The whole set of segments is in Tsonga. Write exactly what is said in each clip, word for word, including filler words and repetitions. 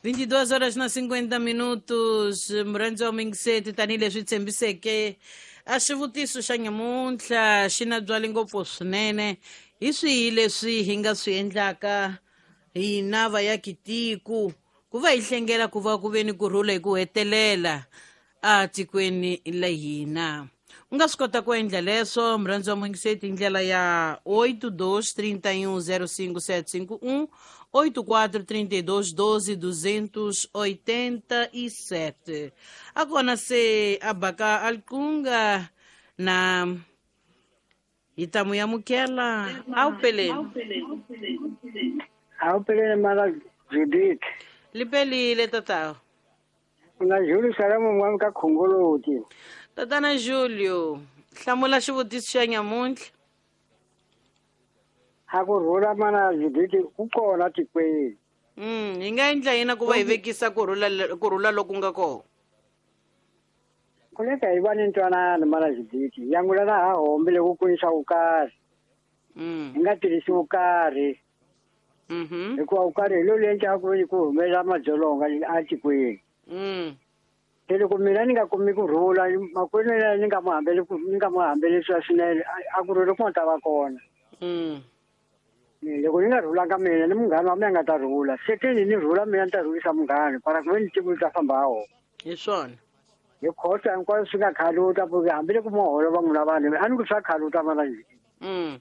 vinte e duas horas na cinquenta minutos. Murhandzi wa muyingiseti, tanihileswi tshembiseke a xivutiso xa nyamuntlha xi na byali ngopfu swinene. Hi swihi leswi hi nga swi endlaka hina vayakitiko ku va hi hlengela ku va ku ve ni kurhula hi ku hetelela a tikweni la hina? U nga swi kota ku endla leswo, murhandzi wa muyingiseti, hi ndlela ya oito dois trinta e um zero cinco sete cinco um, oito quatro trinta e dois doze duzentos oitenta e sete. Agora se abaka alkunga na itamu ya mukela au peleni. Au peleni mara Judith. Lipelile tata. Na Julio salamu mwami ka khongoloti. Tatana Julio, hlamula xivutiso xa nyamuntlha. A ku rhula mana Judith ku kona tikweni. Mm, hi nga endla yini ku va hi vekisa ku rhula ku rhula loku nga kona? Kuleka hi va ni ntwanano mana Judith, yangula na ha hombile ku kurisa vukarhi. Mm. Hi nga tirhisi vukarhi. Mhm. Hikuva vukarhi hi lowu endlaka ku ku humelela madzolonga a tikweni. Mm. Se loko mina ni nga kumi ku rhula, makwenu yena ni nga mu hambeli ku ni nga mu hambelisa swinene, a ku rhula ku nga ta va kona. Mm. Loko ni nga rhulanga mina ni munghana wa mina nga ta rhula. Se teni ni rhula mina ni ta rhulisa munghana, para ku ve ni tiko li ta famba ha wona. Hi swona. Hi khosa hinkwaswo swi nga khaluta, ku hambi loko mo holova n'wina vanhu, a ni ku swa khaluta mana njhe. Mm.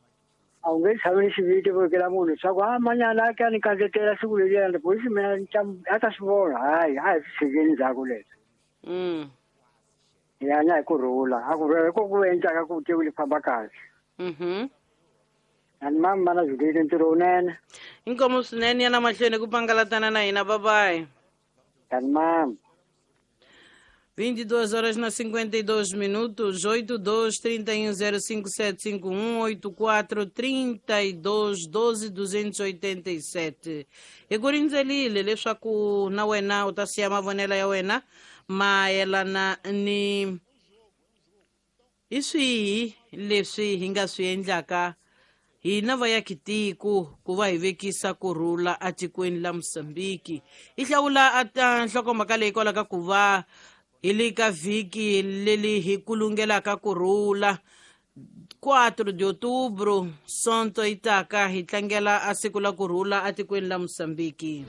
A wu nge tshami ni xiviti vekela munhu swa ku a manyana a ka ni kandzetela siku leriya, polisi mina ni ta a ta swi vona, hayi a hi swi tshikeni ndzhaku leswi. Mm. Hi hanya hi ku rhula, a ku rhula hi ko ku endlaka ku tiko li famba kahle. Mhm. Ani mama mana Judith ntirho wunene. Inkomu swinene ya na mahlweni ku pangalatana na hina, bye bye. Ani mama. vinte e duas horas na cinquenta e dois minutos, oito dois trinta e um zero cinco sete cinco um, oito quatro trinta e dois doze duzentos e oitenta e sete. Hi ku rindzelile leswaku na wena u ta siya mavonelo ya wena mayelana ni hi swihi leswi hi nga swi endlaka hina vayakitiko ku va hi vekisa ku rhula atikweni la Mozambique. Hi hlawula ata nhlokomhaka leyi kwalaka ku va hi le ka vhiki leli hi kulungelaka ku rhula. quatro de outubro, Sonto yi taka hi tlangela a siku la ku rhula atikweni la Mozambique.